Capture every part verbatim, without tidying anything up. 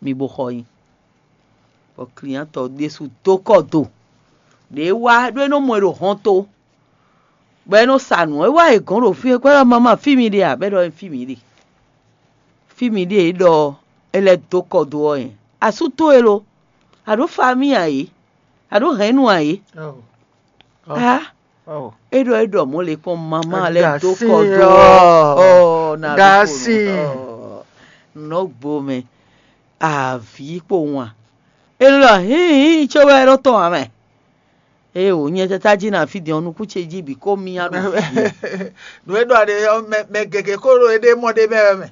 mi bo xɔ nyi. Bɔ klinyantɔ ɖésú dó kɔ do ɖě wá ɖó é nɔ mɔ ɛ ɖo hɔnto, bɔ é nɔ sa nǔ. É wá è gɔ̌n ɖo fí é, kwɛ́ ɖɔ mama fí mi ɖe a? Bɔ é ɖɔ fí mi ɖe. Fí mi ɖe é ɖɔ é lɛ́ dó kɔ do ɔ́ nyɛ. Asú towe lo? A ɖǒ famí ǎ é? A ɖǒ hɛ̌nnu ǎ é? Á, é ɖɔ é ɖɔ mɔ̌ lě kpɔ́n mama lɛ́ dó kɔ do ɔ́, ɔ́, na ɖó kpo nǔ. Ɔ́, nɔ́ gbo mɛ. Avǐ kpo wǎn. É ɖɔ hǐn hǐn có wɛ é ɖó tɔn ǎ mɛ. Ée wǒ nyɛ tata jí na fí din ɔ́, nukún ce jí bǐ kó myá ɖo fí. Nǔ e ɖɔ a ɖe ɔ́, mɛ mɛ gěgé kó ɖo éɖée mɔ ɖ'é mɛ wɛ mɛ.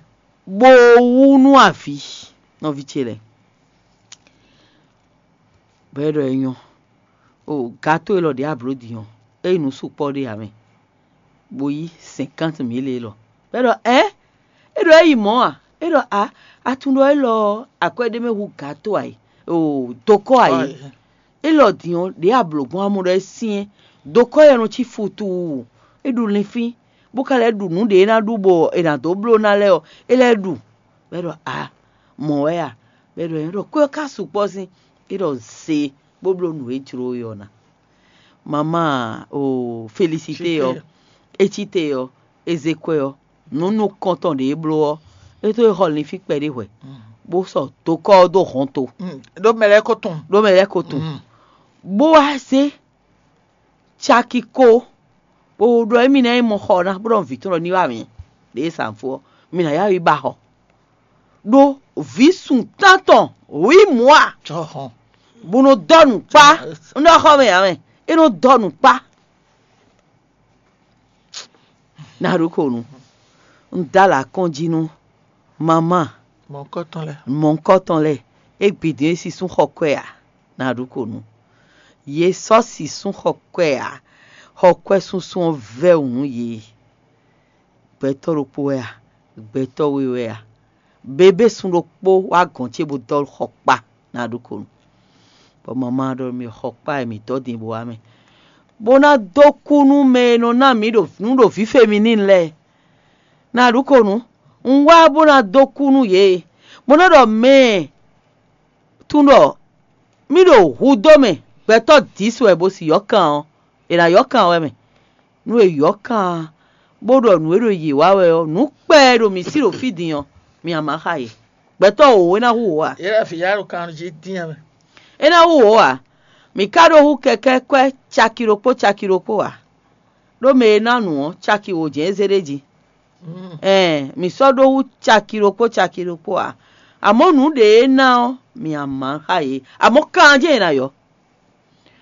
Bó wú nú avǐ nɔví ce lɛ́ɛ. Bɔ é ɖɔ é nyɔ́. O gato élɔ́ ɖě a blǒ din ɔ́, é nyí nǔ sukpɔ́ ɖé ǎ mɛ, bó yí cinquante mille élɔ́. Bɔ é ɖɔ ɛ, é ɖɔ é yi mɔ̌ a? É ɖɔ a, a tunwun ɖɔ élɔ́ ɔ́, akwɛ́ ɖé mɛ hu gato ǎ é, o dokɔ́ ǎ é. Élɔ́ din ɔ́, ɖě a blǒ gbɔn a mɔ ɖɔ é syɛ́n, dokɔ́ yɛ nɔ cí futuu, é ɖu linfín, bó ka lɛ́ ɖu nǔ ɖě é ná ɖu bɔ è nǎ dó bló ná lɛ́ɛ ɔ́, é lɛ́ ɖu. Bɔ é ɖɔ a, mɔ̌ wɛ a? Bɔ é ɖɔ nyɛ ɖɔ kwɛ́ ɔ́ ka sukpɔ́ sín, é ɖɔ ze bó bló nǔ e jló we ɔ́ ná. Mamá o Felisité ɔ́, é cí te ɔ́, é zé kwɛ́ ɔ́, nǔ nukɔntɔn ɖě é bló ɔ́, é tó é xɔ linfín kpɛɖé hwɛ̌, bó sɔ dokɔ́ ɔ́ dó hɔnto. Ɖó mɛ lɛ́ɛ ko tunwun. Ɖó mɛ lɛ́ɛ ko tunwun. Bó wá zé caki ko, bó ɖɔ émí ná yi mɔ xɔ ná, bó ɖɔ vǐ tɔn ɖɔ ní wá mì ɖě e sa fó ɔ́, mi nǎ yá yi ba xɔ. Ɖó vǐ sun tántɔn wǐ mɔ̌ a? Bó nɔ dɔ́ nǔ kpá. Un ɖɔ xɔ mɛ ǎ mɛ, é nɔ dɔ́ nǔ kpá. Ná ɖó ko nu. Un dó alɔ akɔ́njí nú mamá. Mɔ̌hunkɔtɔn lɛ́ɛ. Mɔ̌hunkɔtɔn lɛ́ɛ, é gbi din é sísún xɔ kwɛ ǎ. Ná ɖó ko nu. Yě sɔ́ sísún xɔ kwɛ ǎ. Xɔ kwɛ súnsún ɔ́ vɛ́ wǔ nú yě. Gbɛtɔ́ ɖokpó wɛ a? Gbɛtɔ́ we wɛ a? Bebé sun ɖokpó wá gɔ̌n ce bó dɔ́ xɔ kpa. Ná ɖó ko nu. Bɔ mamá ɖɔ mì xɔ kpa e mǐ dɔ́ din bó wá mɛ, bó ná dó kú nú mɛ e nɔ ná mǐ ɖo nǔ ɖo vǐ feminin lɛ́ɛ. Ná ɖu ko nǔ. Un wá bó ná dó kú nú yě, bó ná ɖɔ mɛ e tunwun ɖɔ mì ɖo hudó mɛ, gbɛtɔ́ dǐsu wɛ bó si yɔ́kan ɔ́, è nǎ yɔ́kan wɛ mɛ. Nú è yɔ́kan, bó ɖɔ nǔ e ɖo yě wa wɛ ɔ́, nǔ kpɛ e ɖo mǐ sí ɖo fí din ɔ́, mi a ma xa yě. Gbɛtɔ́ wǒ é ná hu wǒ a? Yě ɖo afǐ ya ɖo kan jí dín ɛ mɛ. É ná hu wǒ a? Mǐ ka ɖó hú kɛkɛ́ kwɛ́ caki ɖokpó caki ɖokpó a? Ɖó mɛ e ná nǔ ɔ́, caki wǒ jɛ́n é zé ɖ'é jí. Ɛɛn, mǐ sɔ́ ɖó hú caki ɖokpó caki ɖokpó a? Amɔ̌ nǔ ɖě é ná ɔ́, mi a ma xa yě. Amɔ̌ kan jɛ́n è nǎ yɔ.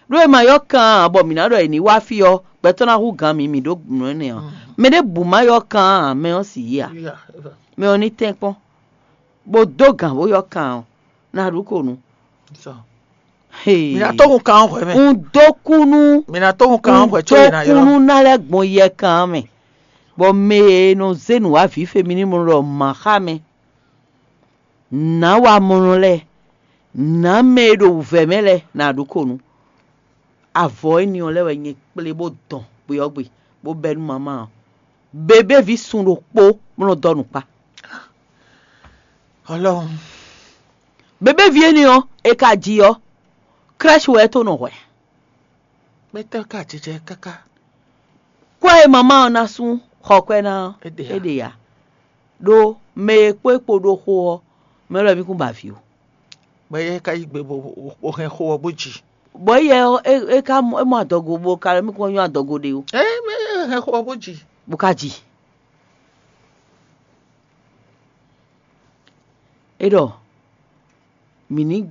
Ɖó è ma yɔ kan ǎ, bɔ mǐ ná ɖɔ è ní wá fí ɔ́, gbɛtɔ́ ná hú gǎn mǐ, mǐ ɖó nǔ énɛ́ ɔ́. Mɛ ɖěbǔ ma yɔ kan ǎ, mɛ ɔ́ sì yí ǎ. Mɛ ɔ́ ní tɛ́nkpɔ́n, bó dó gǎn bó yɔ kan ɔ́, ná ɖu ko nu. Hee. Mǐ ná tó hun kan ɔ́ hwɛ̌ mɛ. Un dó kú nú Mǐ ná tó hun kan ɔ́ hwɛ̌ có è nǎ ylɔ́. Kú nú ná lɛ́ gbɔn yɛ kan ɔ́ mɛ, bɔ mɛ e nɔ zé nǔ wá vǐ femínú ɖɔ mǎ xá mɛ. Nǎ wa mɔnɔ lɛ́ɛ, nǎ mɛ e ɖo wǔvɛ́ mɛ lɛ́ɛ ná ɖu ko nu. Avɔ énɛ́ ɔ́ lɛ́ɛ wɛ nyɛ kplé bó dɔn gbe ɔ́ gbe, bó bɛ́ nú mamá ɔ́. Bebéví sun ɖokpó bó nɔ dɔ́ nǔkpá. Ọlọ́run. Bebéví énɛ́ ɔ́, è ka ji ɔ́, crèche wɛ é tó nɔ hwɛ. Gbɛtɔ́ ka jijɛ káká. Kwɛ́ e mamá ɔ́ ná sú xɔ kwɛ́ ná ɔ́, é ɖe ǎ. Ɖó mɛ e kpó é kpo ɖó xó ɔ́, mɛ lɔ mí kún ba vǐ ó. Bɔ é ka yí gbe bó bó hɛn xó ɔ́ bó ji. Bɔ éyɛ ɔ́, é é ka mɔ é mɔ adɔgo bó ka lɔ mí kún nyɔ́ adɔgo ɖe ó. É mɛ é hɛn xó ɔ́ bó ji. Bó ka ji. É ɖɔ mǐ ní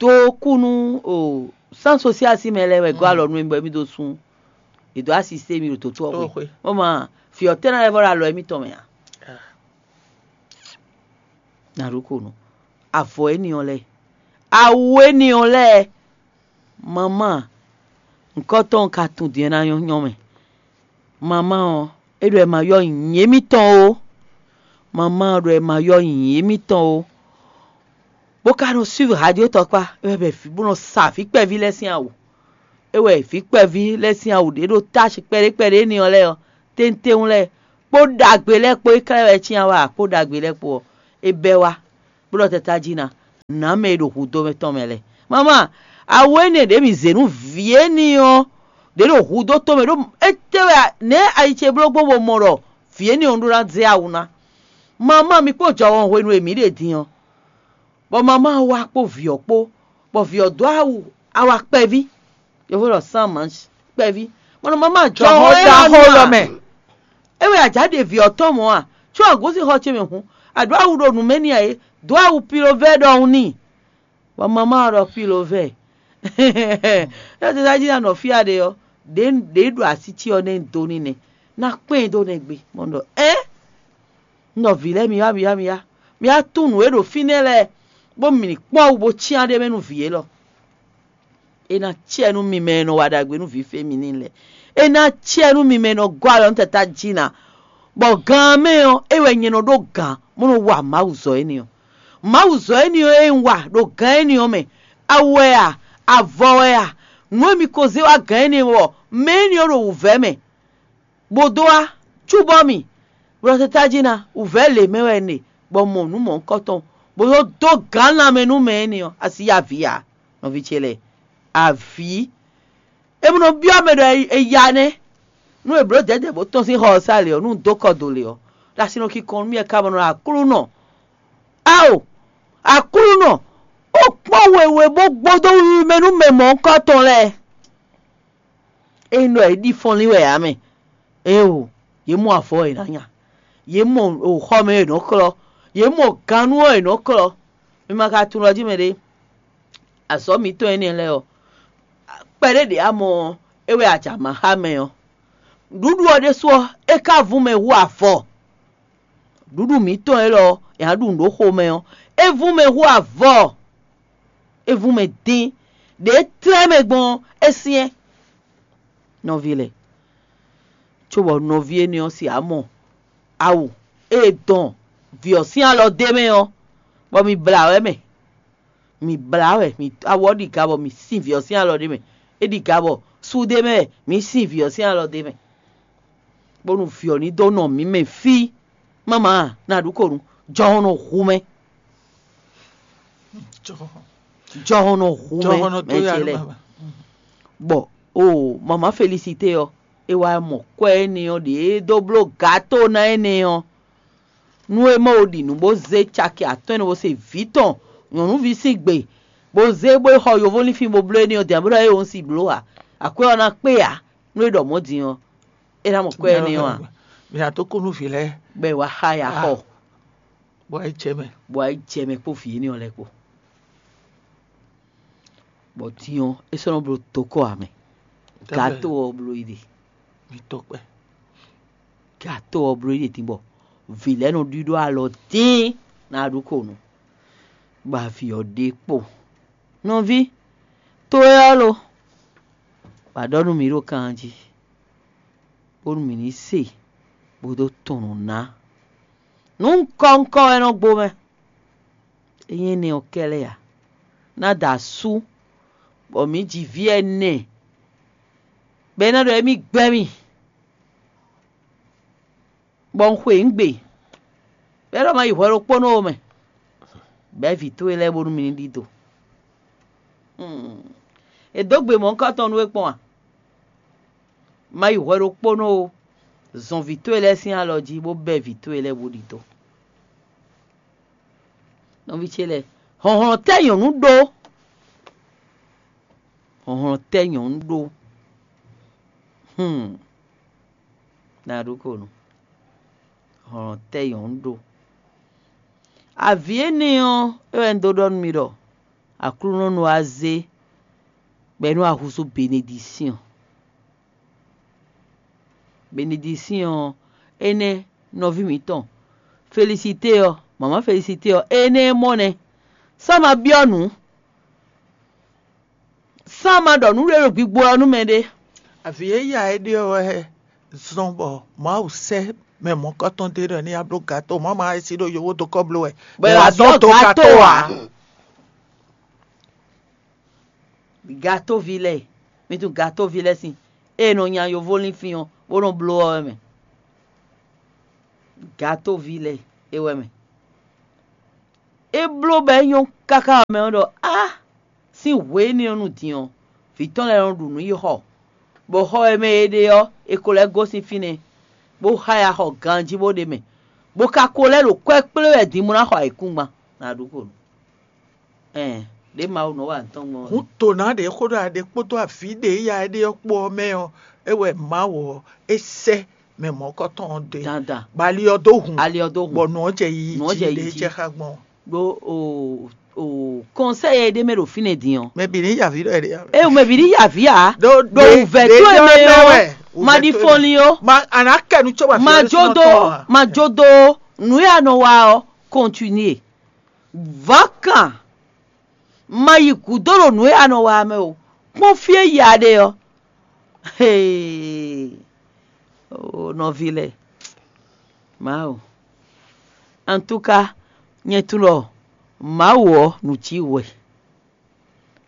dó kú nú o sán sosial sín mɛ lɛ́ɛ wɛ gɔ́ alɔ nú mì bɔ émí dó sú. È dó asisté mì ɖo dǒtú ɔ́ xwe. Ó ma, fí ɔ́ tɛ́ ná lɛ́ vɔ ɖo alɔ émítɔn mɛ ǎ. Ná ɖó ko nú avɔ éní ɔ́ lɛ́ɛ, awu éní ɔ́ lɛ́ɛ, mamá, nǔkɔtɔn ka tunwun din ɔ́ ná nyɔ́ nyɔ́ mɛ. Mamá ɔ́, é ɖɔ è ma yɔ nyǐ émítɔn ó. Mamá ɔ́ ɖɔ è ma yɔ nyǐ émítɔn ó. Bó ka nɔ suivre radio tɔkpá, é wɛ bɔ vǐ bó nɔ sa vǐ kpɛví lɛ́ɛ sín awu. É wɛ vǐ kpɛví lɛ́ɛ sín awu ɖě ɖo tási kpɛɖé kpɛɖé énɛ́ ɔ́ lɛ́ɛ ɔ́, tɛ́ntɛ́n lɛ́ɛ kpó ɖagbe lɛ́ɛ kpó é klɛ́ wɛ cyán wá kpó ɖagbe lɛ́ɛ kpó ɔ́, é bɛ́ wá, bó ɖɔ tata jí ná. nǎ mɛ e ɖo hudó mɛ tɔn mɛ lɛ́ɛ. Mama, awu énɛ́ ɖě mǐ zě nú vǐ énɛ́ ɔ́, ɖě ɖo hudó tɔn mɛ ɖó étɛ́ wɛ a- nɛ̌ ayi ce bló gbɔn bɔ mɔ ɖɔ vǐ énɛ́ ɔ́ ɖó ná zé awu ná? Mama, mi kpó jɔhɔn hwenu e mǐ ɖe din ɔ́, bɔ mama ɔ́ wá kpó vǐ ɔ́ kpó, bɔ vǐ ɔ́ dó awu awa kpɛví, yovó ɖɔ sán manch kpɛví. Mɔnɔ mama jɔhɔn é ɖaxó lɔ mɛ. É wɛ ajǎ ɖe vǐ ɔ́ tɔn mɔ̌ a? Có agǒzixɔ ce mɛ hǔn, a ɖǒ awu ɖo nǔ mɛ n'i ǎ é, dǒ awu pilovɛ́ ɖɔhun n'i. Bɔ mama ɔ́ ɖɔ pilovɛ́. É tɛ́ jí ná nɔ fí a ɖe ɔ́, ɖě ɖě ɖo así ce ɔ́ nɛ́ dó n'i nɛ́, ná kpɛ́n ɛ dó nɛ́ gbé. Mɔ ɖɔ ɛ? Un ɖɔ vǐ lɛ́ɛ mi wá mi wá mi wá, mi wá tunwun nǔ e ɖo fínɛ́ lɛ́ɛ, bó mì ní kpɔ́n wú bó cyán ɖ'é mɛ nú vǐ élɔ́. É ná cɛ nú mi mɛ e nɔ wa ɖagbe nú vǐ féminin lɛ́ɛ. É ná cɛ nú mi mɛ e nɔ gɔ́ alɔ nú tata jí ná, bɔ gan ɔ́ mɛ ɔ́, é wɛ nyɛ nɔ ɖó gǎn bó nɔ wa Mawu zɔ énɛ́ ɔ́. Mawu zɔ énɛ́ ɔ́ e un wa ɖo gǎn énɛ́ ɔ́ mɛ, awu wɛ a, avɔ wɛ a, nǔ e mi ko zé wá gǎn énɛ́ ɔ́, mɛ énɛ́ ɔ́ ɖo wǔvɛ́ mɛ, bó dó wá cúbɔ́ mì, bó ɖɔ tata jí ná, wǔvɛ́ lě mɛ wɛ un ɖe, bɔ un mɔ nǔ mɔ̌hunkɔtɔn, bó dó dó gǎn lanmɛ nú mɛ énɛ́ ɔ́, a sixú ya avǐ ǎ, nɔví ce lɛ́ɛ. Avǐ. É mɔ nɔ byɔ́ mɛ ɖɔ è ya nɛ́. Nú è blǒ dɛ̌dɛ̌ bó tɔ́n sín xɔ ɔ́ sá lě ɔ́, nú un dó kɔ do lě ɔ́, ɖo asinɔ kinkɔn nú mì wɛ ká bɔ nɔ ɖo Aklúnɔ. Ao! Aklúnɔ, ó kpɔ́n wěwé bó gbódó wiwi mɛ nú mɛ mɔ̌hunkɔtɔn lɛ́ɛ. Ényí ɖɔ yě ɖi fɔnlín wɛ ǎ mɛ, éeǒ, yě mɔ avɔ e è nǎ nya, yě mɔ xɔ mɛ e è nɔ́ klɔ́, yě mɔ gannú ɔ́ e è nɔ́ klɔ́. Mi ma ka tunwun ɖɔ jí mɛ ɖé, azɔ̌ mǐtɔn énɛ́ lɛ́ɛ ɔ́, kpɛɖé ɖě a mɔ ɔ́, é wɛ a jǎ ma xá mɛ ɔ́. Ɖuɖu ɔ́ ɖésú ɔ́, é ka vún mɛ hú avɔ. Ɖuɖu mǐtɔn élɔ́ ɔ́, è nǎ ɖu nǔ ɖó xomɛ ɔ́, é vún mɛ hú avɔ. É vún mɛ dín, ɖě é tlɛ́ mɛ gbɔn ɔ́, é syɛ́n. Nɔví lɛ́ɛ, cóbɔ nɔví énɛ́ ɔ́ se amɔ awu e è dɔn vǐ ɔ́ sín alɔ d'é mɛ ɔ́, bɔ mi blǎ wɛ mɛ. Mi blǎ wɛ, mi awɔ ɔ́ ɖi ga bɔ mi sin vǐ ɔ́ sín alɔ ɖ'é mɛ. É ɖi ga bɔ sú d'é mɛ wɛ, mi sin vǐ ɔ́ sín alɔ d'é mɛ. Bónú vǐ ɔ́ ní dó nɔ mǐ mɛ fí. Mama, na ɖu ko nu, jɔhɔn nɔ hu mɛ. Jɔhɔn nɔ hu mɛ, mɛ ce lɛ. Bɔ o mama Felisite ɔ́, é wá mɔ kwɛ́ énɛ́ ɔ́ ɖě é dó bló gato ná énɛ́ ɔ́, nú é mɔ wo ɖi nǔ bó zé caki atɔ́ɔ́n bó se vǐ tɔn nyɔ̌nuví sín gbe, bó zé bó yi xɔ yovólinfín bó bló énɛ́ ɔ́ din, bó ɖɔ é wǒ un si bló ǎ. Akwɛ́ ɔ́ ná kpé ǎ, nú é ɖɔ mɔ̌ din ɔ́, é ná mɔ kwɛ́ énɛ́ ɔ́ ǎ. Mi ná tó kú nú vǐ lɛ́ɛ. Bɔ è wá xá ya xɔ. Bɔ é jɛ mɛ. Bɔ é jɛ mɛ kpó vǐ énɛ́ ɔ́ lɛ́ɛ kpó. Bɔ din ɔ́, é sɔ́ nɔ bló dokɔ ǎ mɛ. Gato ɔ́ bló yi ɖe. Mi tɔkpɛ. Gato ɔ́ bló yi ɖe din bɔ vǐ lɛ́ɛ nɔ ɖíɖó alɔ dín ná ɖu ko nu. Bɔ avǐ ɔ́ ɖe kpo. Nɔví, to é ɔ́ lo, bɔ a ɖɔ nú mǐ ɖo kan jí, bónú mǐ ní se, bó dó tunwun nǔ ná. Nǔ ŋkɔ́ ŋkɔ́ wɛ nɔ gbo mɛ. É nyí énɛ́ ɔ́ kɛ́lɛ́ ǎ. Ná da asú, bɔ mǐ ji vǐ ɛnɛ, bɔ é ná ɖɔ émí gbɛ́ mì, bɔ un xwe nǔ gbe, bɔ é ɖɔ ma yi hwɛ ɖokpónɔ ó mɛ, bɛ̌ vǐ towe lɛ́ɛ bónú mi ní ɖidó. È dǒ gbe mɔ̌hunkɔtɔn nú we kpɔ́n a? Ma yi hwɛ ɖokpónɔ ó, zɔn vǐ towe lɛ́ɛ sín alɔ jí, bó bɛ́ vǐ towe lɛ́ɛ bó ɖidó. Nɔví ce lɛ́ɛ, hlɔ̌nhlɔ́n tɛ́ nyɔ̌nu ɖó? Hlɔ̌nhlɔ́n tɛ́ nyɔ̌nu ɖó? Hmm. Na ɖó ko nu. Hlɔ̌nhlɔ́n tɛ́ nyɔ̌nu ɖó? Avǐ énɛ́ ɔ́, é wɛ un dó ɖɔ nú mi ɖɔ Aklúnɔ nɔ wá zé bɔ é nɔ wá húzú benedisíɔn. Benedisíɔn ɔ́, énɛ́ nɔví mǐtɔn Felisite ɔ́, mama Felisite ɔ́, énɛ́ e mɔ nɛ́. Sɔ́ ma byɔ́ nǔ, sɔ́ ma ɖɔ nǔ ɖé ɖo gbigbo ɔ́ nú mɛɖé. Avǐ e ya é ɖe ɔ́ wɛ zɔ́n bɔ Mawu sɛ́ mɛ mɔ̌kɔtɔn dó e ɖɔ ní yi bló gato, mɔ̌ ma e sí ɖo yovó dó kɔ bló wɛ. Bɔ è wá dɔn dó gato ǎ. Gatóví lɛ́ɛ, mi tunwun gatóví lɛ́ɛ sín, ée è nɔ nya yovó linfín ɔ́, bó nɔ bló ɔ́ wɛ mɛ. Gatóví lɛ́ɛ é wɛ mɛ. É bló bɔ é nyɔ́ káká ɔ́ mɛ ɔ́ ɖɔ á, sín hwě énɛ́ ɔ́ nu din ɔ́, vǐ tɔn lɛ́ɛ nɔ ɖu nǔ yi xɔ, bɔ xɔ e mɛ è ɖe ɔ́, è ko lɛ́ gosín fínɛ́, bó xáya xɔ ganjí bó ɖ'é mɛ, bó ka ko lɛ́ ɖo kwɛ́ kplé wɛ din bó ná xɔ ayǐkúngban. Nǎ ɖu xo nú. Ɛn, ɖě Mawu nɔ wa nǔ tɔn gbɔn ɔ́. Hǔn to ná ɖě xó ɖɔ aɖe kpódó avǐ ɖě ya é ɖe ɔ́ kpó ɔ́ mɛ ɔ́, é wɛ Mawu ɔ́ é sɛ́ mɛ mɔ̌kɔtɔn ɔ́ dó e. Dandan. Bɔ ali ɔ́ dó hun. Ali ɔ́ dó hun. Bɔ nǔ ɔ́ jɛ yiyi Nǔ ɔ́ jí jɛ ɖě yiyi é jí. Jɛ xá gbɔn. Ɖó o o kɔnsɛ́ e ɖ'é mɛ ɖo fínɛ́ din ɔ́. Mɛ bǐ ní yavǐ ɖɔ ɛɖe. E mɛ bǐ ní yavǐ ǎ. Ɖó ɖo ɖe- wǔvɛ́ ɖe tó e yɔ mɛ nɛ ɔ́ wɛ, wǔvɛ́ má ɖi tó e fɔnlin ó. Ma a nǎ kɛ nu cóbɔ má jó dó má jó dó nǔ e a nɔ wa ɔ́ kɔntinué. Vǎ kan ma yi gǔdo ɖo nǔ e a nɔ wa mɛ o. Kpɔ́n fí e ya ɖe ɔ́. Hee! Oo, nɔví lɛ́ɛ, Mawu. Antúka, nyɛ tunwun ɖɔ Mawu ɔ́ nǔ cí wɛ.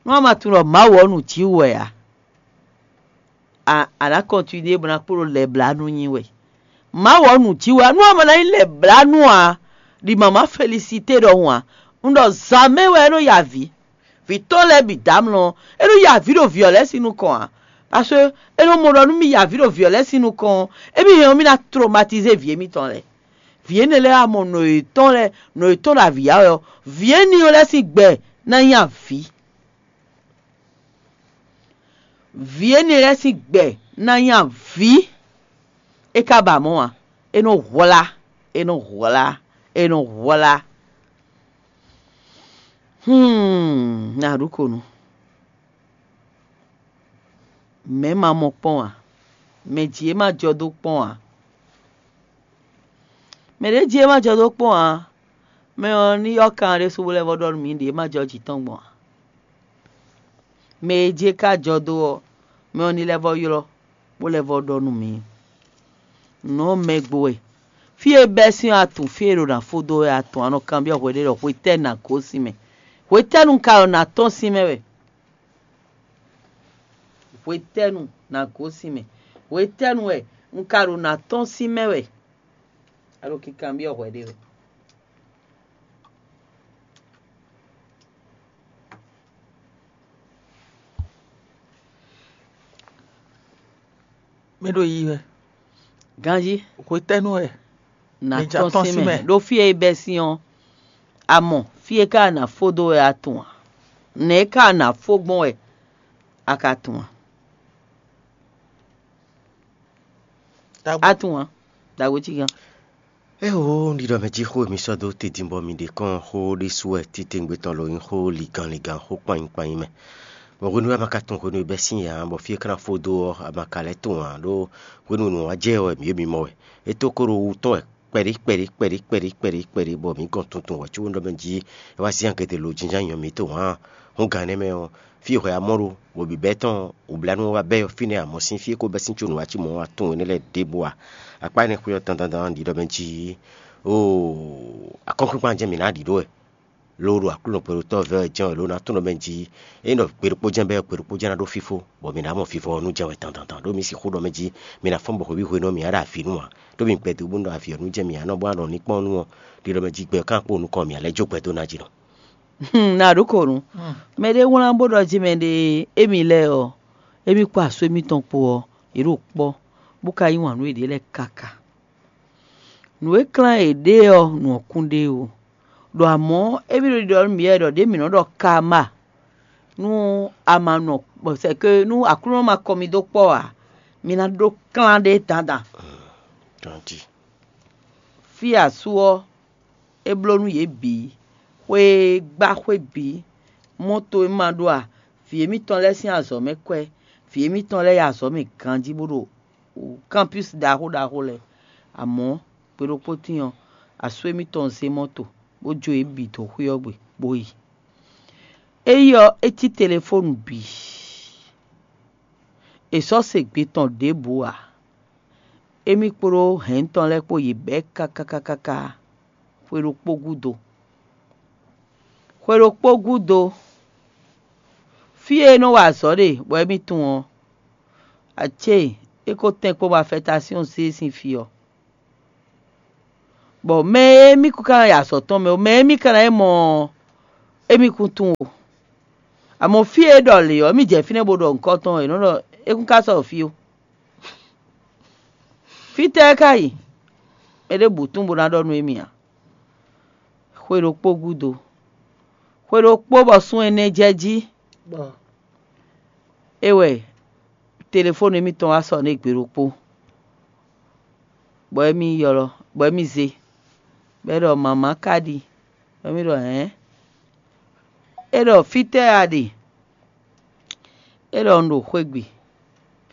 Nú a ma tunwun ɖɔ Mawu ɔ́ nǔ cí wɛ ǎ, a a nǎ kɔntinué bó ná kplɔ́n lɛblánú nyi wɛ. Mawu ɔ́ nǔ jí wɛ nú a ma ná nyí lɛ̌blánú ǎ, ɖi mama felisité ɖɔhun ǎ. Un ɖɔ zǎn mɛ wɛ é nɔ ya avǐ. Vǐ tɔn lɛ́ɛ bǐ dó amlɔ, é nɔ ya avǐ ɖo vǐ ɔ́ lɛ́ɛ sín nukɔn ǎ. Paseke é nɔ mɔ ɖɔ nú mì ya avǐ ɖo vǐ ɔ́ lɛ́ɛ sín nukɔn ɔ́, émí hɛn ɔ́, mì ná tromatizé vǐ émítɔn lɛ́ɛ. Vǐ énɛ́ lɛ́ɛ wá mɔ nɔ yětɔn lɛ́ɛ, nɔ yětɔn ɖo avǐ ya wɛ ɔ́, vǐ énɛ́ ɔ́ lɛ́ɛ sín gbɛ ná nyí avǐ. Vǐ énɛ́ lɛ́ɛ sín gbɛ ná nyí avǐ. É ka ba mɔ̌ ǎ. É nɔ hwlá, é nɔ hwlá, é nɔ hwlá. Hmm, na ɖu ko nu. Mɛ̌ ma mɔ kpɔ́n ǎ. Mɛ jí é ma jɔ dó kpɔ́n ǎ. Mɛ ɖě jí é ma jɔ dó kpɔ́n ǎ. Mɛ ɔ́ ní yɔ́ kan ɖésú bó lɛ́ vɔ́ ɖɔ nú mǐ ɖě é ma jɔ jǐ tɔn gbɔn ǎ. Mɛ e jí é ka jɔ dó ɔ́, mɛ ɔ́ ní lɛ́ vɔ́ ylɔ́, bó lɛ́ vɔ́ ɖɔ nú mǐ. Nǔ ɔ́ mɛ gbo wɛ. Fí e bɛ́ sín ɔ́, a tunwun fí e ɖo nǎ fó dó wɛ a tunwun, a nɔ kanbyɔ́ hweɖé ɖɔ hwetɛ́nu nǎ gosín mɛ. Hwetɛ́nu ka ɖo nǎ tɔ́n sín mɛ wɛ? Hwetɛ́nu nǎ gosín mɛ? Hwetɛ́nu wɛ un ka ɖo nǎ tɔ́n sín mɛ wɛ? A ɖo kikanbyɔ́ hwɛɖé wɛ. Mɛ ɖo yi wɛ. Ganjí. Hwetɛ́nu wɛ? Nǎ tɔ́n sín mɛ. Ɖó fí e é bɛ́ sín ɔ́, a mɔ fí e ka ná fó dó wɛ a tunwun a? Nɛ̌ ka ná fó gbɔn wɛ a ka tunwun a? A tunwun a? Dǎgbó cí gán. Éeǒ, un ɖi ɖɔ mɛ jí xó e mi sɔ́ dó te din bɔ mi ɖe kɔn xó ɖésú wɛ titewungbe tɔn lo nyí xó ligan ligan, xó kpanyi kpanyi mɛ. Bɔ hwenu e a ma ka tunwun hwenu e bɛ́ sín ǎ, bɔ fí e é ka ná fó dó ɔ́, a ma ka lɛ́ tunwun ǎ, ɖó hwenu e nǔ ɔ́ wá jɛ ɔ́, mǐ e mi mɔ wɛ. É tó kó ɖo wu tɔn wɛ kpɛɖí kpɛɖí kpɛɖí kpɛɖí kpɛɖí kpɛɖí bɔ mǐ gɔn tuntun wɛ có un ɖɔ mɛ jí é wá zán gěgé lo jínjɔ́n nyɔ mǐtɔn hǎn. Hǔn gǎn énɛ́ mɛ ɔ́, fí e hwɛ a mɔ ɖo, bɔ bǐbɛ́ tɔn wǔblánú ɔ́ wá bɛ́ fínɛ́ amɔ̌ sín fí e ko bɛ́ sín có nǔ wá cí mɔ̌ wá tunwun énɛ́ lɛ́ɛ ɖěbǔ ǎ. Akpá énɛ́ xwé ɔ́ dandan dandan ɖi ɖɔ mɛ jí, oo, akɔ́nkpinkpan jɛ́n mǐ ná ɖi ɖó wɛ. Ló ɖo Aklúnɔ gbɛɖotɔ́ vɛ́ wɛ jɛ́n wɛ ló ná tunwun ɖɔ mɛ jí, é nɔ gbe ɖokpó jɛ́n bɛ́ gbe ɖokpó jɛ́n ná ɖó fífó, bɔ mǐ ná mɔ vivɔ ɔ́ nú jɛ́n wɛ dandan dandan. Ɖó mǐ sixú ɖɔ mɛ jí, mǐ ná fɔ́n bɔ hweví hwenu ɔ́ mǐ ná ɖo avǐ nú ǎ. Ɖó mǐ gbɛdó bónú ɖɔ avǐ ɔ́ nú jɛ́n mǐ ná nɔ bó ná ɖɔ ní kpɔ́n nú ɔ́, ɖi ɖɔ mɛ jí gbɛ ɔ́ ká kpo nukɔn mǐ ná lɛ́ jó gbɛ dó ná jí nɔ. Hmm, na ɖǒ ko nu. Mɛ ɖé wlán bó ɖɔ jí mɛ ɖe émí lɛ́ɛ ɔ́, émí kpó asú émítɔn kpó ɔ́, yě ɖo kpɔ́, bó ka yí wǎn nú yěɖée lɛ́ɛ káká. Nǔ e klán yě ɖe ɔ́, nǔ ɔ́ kún ɖe ó. Ɖo amɔ̌, émí ɖo ɖiɖɔ nú mǐ wɛ ɖɔ ɖě mǐ nɔ ɖɔ karma nú a ma nɔ, c'est que nú Aklúnɔ ma kɔ mi dó kpɔ́ ǎ, mi ná ɖó klán ɖé dandan. Fí asú ɔ́, é bló nú yě bǐ, xwé e gbá xwé bǐ, mɔ́to e ma ɖó a, vǐ émítɔn lɛ́ɛ sín azɔ̌ mɛ kwɛ́, vǐ émítɔn lɛ́ɛ yi azɔ̌ mɛ ganjí bó ɖo campus ɖaxó ɖaxó lɛ́ɛ. Amɔ̌, gbe ɖokpó tíin ɔ́, asú émítɔn zé mɔ́to, bó jó yě bǐ dó xwé ɔ́ gbe, bó yi. Éyí ɔ́, é cí telefónu bǐ. È sɔ́ se gbe tɔn ɖěbǔ ǎ. Émí kpódó hɛ̌n tɔn lɛ́ɛ kpó yě bɛ́ káká káká xwe ɖokpó gúdo. Xwe ɖokpó gúdo, fí e é nɔ wa azɔ̌ ɖe bɔ émí tunwun ɔ́, acé é ko tɛ́nkpɔ́n bɔ afɛtasíɔn zé sín fí ɔ́. Bɔ mɛ e mì kún ka ná yi azɔ̌ tɔn mɛ ó, mɛ e mì ka ná yi mɔ ɔ́, émí kún tunwun o. Amɔ̌ fí e é ɖɔ lě ɔ́, mì jɛ fínɛ́ bó ɖɔ nǔkɔn tɔn, è nɔ́ ɖɔ é kún ka sɔ́ fí ó. Fítɛ́ é ka yi? Mɛ ɖěbǔ tunwun bó ná ɖɔ nú émí ǎ. Xwe ɖokpó gúdo, xwe ɖokpó bɔ sun ɛnɛ jɛ jí, é wɛ telefónu émítɔn wá sɔ́ nú gbe ɖokpó, bɔ émí ylɔ́, bɔ émí zé, bɔ é ɖɔ: "Mama ka ɖi?" Bɔ émí ɖɔ: "Hɛ̌n?" É ɖɔ: "Fítɛ́ a ɖe?" É ɖɔ: "Un ɖo xwé gbe,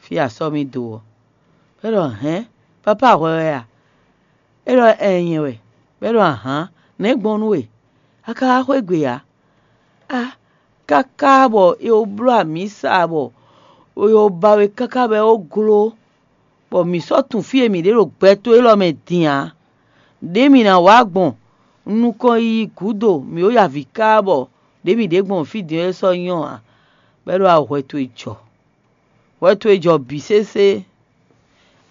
fí a sɔ́ mì dó ɔ́." É ɖɔ: "Hɛ̌n, papá hwɛ wɛ a?" É ɖɔ: "Ɛɛn, nyɛ wɛ." Bɔ é ɖɔ: "Ahǎn, nɛ̌ gbɔn nú we? A ka wá xwé gbe ǎ? A káká bɔ è ko bló amǐsa bɔ è ko ba we káká bɔ é ko gló, bɔ mǐ sɔ́ tunwun fí e mǐ ɖe ɖo gbɛ towe élɔ́ mɛ din ǎ. Ɖěe mǐ ná wá gbɔn nukɔn yiyi gǔdo, mǐ ko yi avǐ ká bɔ ɖěe mǐ ɖe gbɔn fí din ɔ́ é sɔ́ nyɔ́ ǎ." Bɔ é ɖɔ: "Ahwɛ towe jɔ, hwɛ towe jɔ bǐ sésé.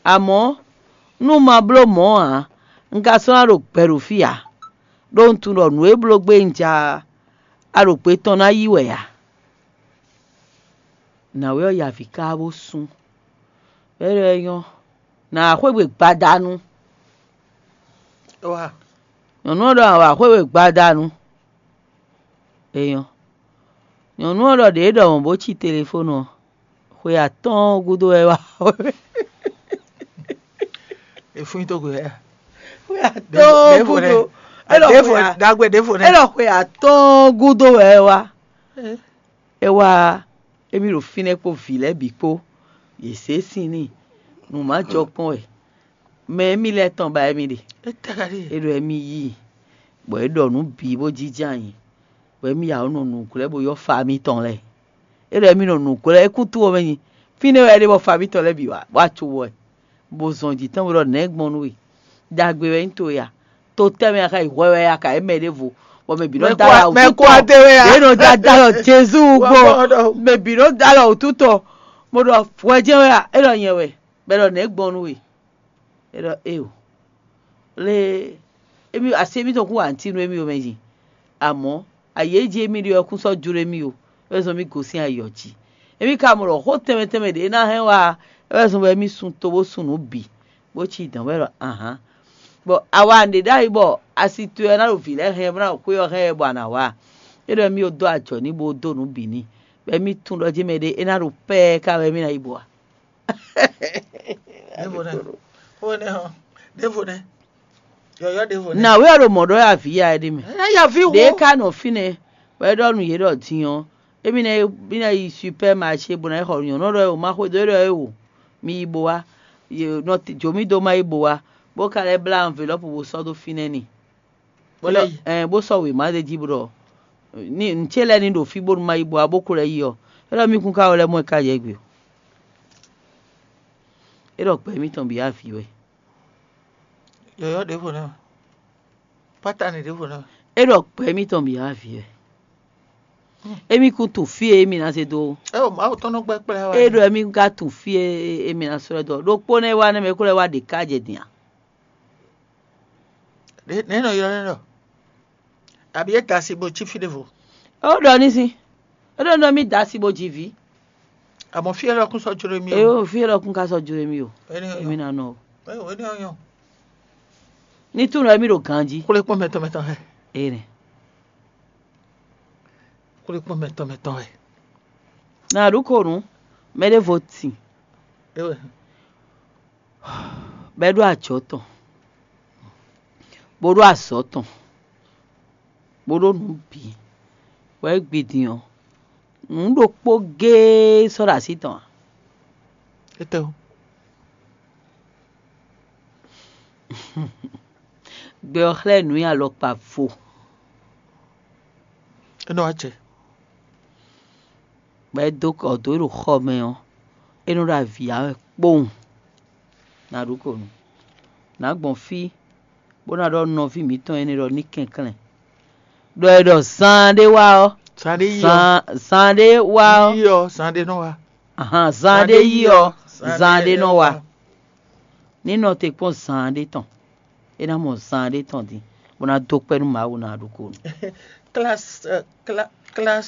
Amɔ̌, nú un ma bló mɔ̌ ǎ, un ka sɔ́ ná ɖo gbɛ ɖo fí ǎ, ɖó un tunwun ɖɔ nǔ e bló gbé un ja a ɖo gbe tɔn ná yí wɛ ǎ." Nǎwe ɔ́ yi avǐ káká bó sú. Bɔ é ɖɔ é nyɔ́, nǎ wá xwé gbe gbadanu. Nyɔ̌nu ɔ́ ɖɔ: "Nǎ wá xwé gbe gbadanu." É nyɔ́. Nyɔ̌nu ɔ́ ɖɔ ɖě é ɖɔ mɔ̌ bó cí telefónu ɔ́, xwe atɔ́ɔ́n gúdo wɛ é wá. Efún tó gbe ɛ. Xwe atɔ́ɔ́n gúdo. É ɖɔ xwe a- Dagbe ɖěvo é nɛ. Ɖɔ xwe atɔ́ɔ́n gúdo wɛ é wá. É wá émí ɖo fínɛ́ kpó vǐ lɛ́ɛ bǐ kpó, yě zé sin n'i, nǔ má jɔ kpɔ́n wɛ. Mɛ émí lɛ́ɛ tɔn ba émí ɖe. Étɛkali. É ɖɔ émí yí i, bɔ é ɖɔ nǔ bǐ bó jínjɔ́n ayǐ, bɔ émí ya nɔ nǔglɛ́ bó yɔ́ fa mitɔn lɛ́ɛ. É ɖɔ émí nɔ nǔglɛ́ é kún tú ɔ́ mɛ nyi. Fínɛ́ wɛ é ɖe bɔ fa mitɔn lɛ́ɛ bǐ wá wá co wɔ ɛ, bó zɔn jǐ tɔn bó ɖɔ nɛ̌ gbɔn nú we? Ɖagbe wɛ nyí towe a? To tɛ́ mɛ a ka yi hwɛ wɛ a ka yě mɛ ɖěvo, bɔ mɛ bǐ nɔ Mɛ dó kó- ala wǔ mɛ kó títɔ. adé wɛ a? Ɖě nɔ dó adó alɔ Jezu Wá gbɔ. gbɔ ɖɔ. Mɛ bǐ nɔ dó alɔ wǔ títɔ. Mo ɖɔ hwɛ jɛ́n wɛ a? É ɖɔ nyɛ wɛ, bɔ é ɖɔ nɛ̌ gbɔn nú we? É ɖɔ éo. Lé émí asi émítɔn kún wa ntí nú émí o mɛ yi. Amɔ̌, ayǐ e jí émí ɖe ɔ́ kún sɔ́ jló émí o, é wɛ zɔ́n mì gosín ayǐ ɔ́ jí. Émí ka mɔ ɖɔ xó tɛnmɛ tɛnmɛ ɖě ná hɛn wá, é wɛ zɔ́n bɔ émí sun to bó sun nǔ bǐ, bó cí dɔ̌n wɛ ɖɔ ahán. Bɔ awa ɖě ɖ'ayǐ bɔ asi towe ɔ́ ná ɖo vǐ lɛ́ɛ hɛn bó ná ɖo xwé ɔ́ hɛn wɛ bɔ a nǎ wá. É ɖɔ émí dó ajɔ ní bó dó nǔ bǐ n'i, bɔ émí tunwun ɖɔ jɛ́n mɛ ɖé é ná ɖo pɛ́ɛ ká wɛ émí ná yi bɔ a? Ɖěvo nɛ. Xó énɛ́ hɔn. Ɖěvo nɛ. Yɔyɔ ɖěvo nɛ. Nǎwe ɔ́ ɖo mɔ̌ ɖɔ wɛ avǐ ya é ɖi mɛ. Ɛ ya vi wo. Ɖě ká nɔ fínɛ́, bɔ é ɖɔ nú yě ɖɔ din ɔ́, émí ná yi, mí ná yi supɛ́maṣé bó ná yi xɔ nyɔ̌nu ɖɔ é wò, má xwedó é ɖɔ é wò, mi yi bo wá. Yě nɔ te- jó mì dó má yi bo wá, bó ka lɛ́ blá anvelɔ́pu bó sɔ́ dó fínɛ́ n'i. Bó lɛ́ yi. Ɛn bó sɔ́ wěma ɖé jí bó ɖɔ ní nǔ ce lɛ́ɛ ní ɖo fí bónú má yi bo wá bó ko lɛ́ yi ɔ́, é ɖɔ mì kún ka wɛ lɛ́ mɔ ɛ ká yɛ gbe o. É ɖɔ gbɛ mǐtɔn bǐ avǐ wɛ. Yɔyɔ ɖěvo nɛ. Pátani ɖěvo nɛ. É ɖɔ gbɛ mǐtɔn bǐ avǐ wɛ. Émí kún tunwun fí e émí ná zé dó. Ɛ o Mawu tɔn nɔ gbɛ kplá wa. É ɖɔ émí ka tunwun fí e émí ná sɔ́ ɛ dó. Ɖokpó nɛ́ wá nɛ́ mɛ kó lɛ́ wá ɖě ká jɛ din a? Nɛ nɔ ylɔ́ nɛ ɖɔ. Àbí é da asi bó cí fí ɖěvo. Ó ɖɔ ní sín. É ɖɔ nɔ mí da asi bó jí vǐ. Àmọ́ fí ɛlɔ kún sɔ́ jló mì o. Eye fí é ɖɔ kún ká sɔ́ jló émí o. Éní Émí ɔyɔ. ná nɔ o. Éní ɔyɔ. Ní tún nɔ émí ɖo ganjí. Kúlé kpɔ́n mɛtɔn mɛtɔn hɛ. Ene. Kúlé kpɔ́n mɛtɔn mɛtɔn hɛ. Na ɖu ko nǔ. Mɛ ɖé vo tì. Ewɛ. Bɔ é ɖó ajɔ̌ tɔn, bó ɖó azɔ̌ tɔn, bó ɖó nǔ bǐ, bɔ é gbi din ɔ́, nǔ ɖokpó géé sɔ́ ɖo así tɔn ǎ. Étɛ́ o. Gbɛ ɔ́ xlɛ́ nǔ nyi alɔkpa vo, É nɔ wá jɛ. bɔ é dó kɔ dó ɖo xɔ mɛ ɔ́, é nɔ ɖo avǐ ya wɛ kpowun. Na ɖu ko nú. Nǎ gbɔn fí, bó ná ɖɔ nɔví mǐtɔn énɛ́ ɖɔ ní kɛnklɛ́n. Ɖɔ è ɖɔ zaan ɖé wá ɔ́, Zan ɖé yi ɔ. zaan zaan ɖé wá ɔ́, Yi ɔ, zan ɖé nɔ wá. ahan, zaan ɖé yi ɔ́, zaan ɖé nɔ wá. Ní nɔ te kpɔ́n zaan ɖé tɔn. É ná mɔ zan ɖé tɔn din, bó ná dó kpɛ́ nú Mawu ná ɖokpónɔ. Classe, euh, cla- classe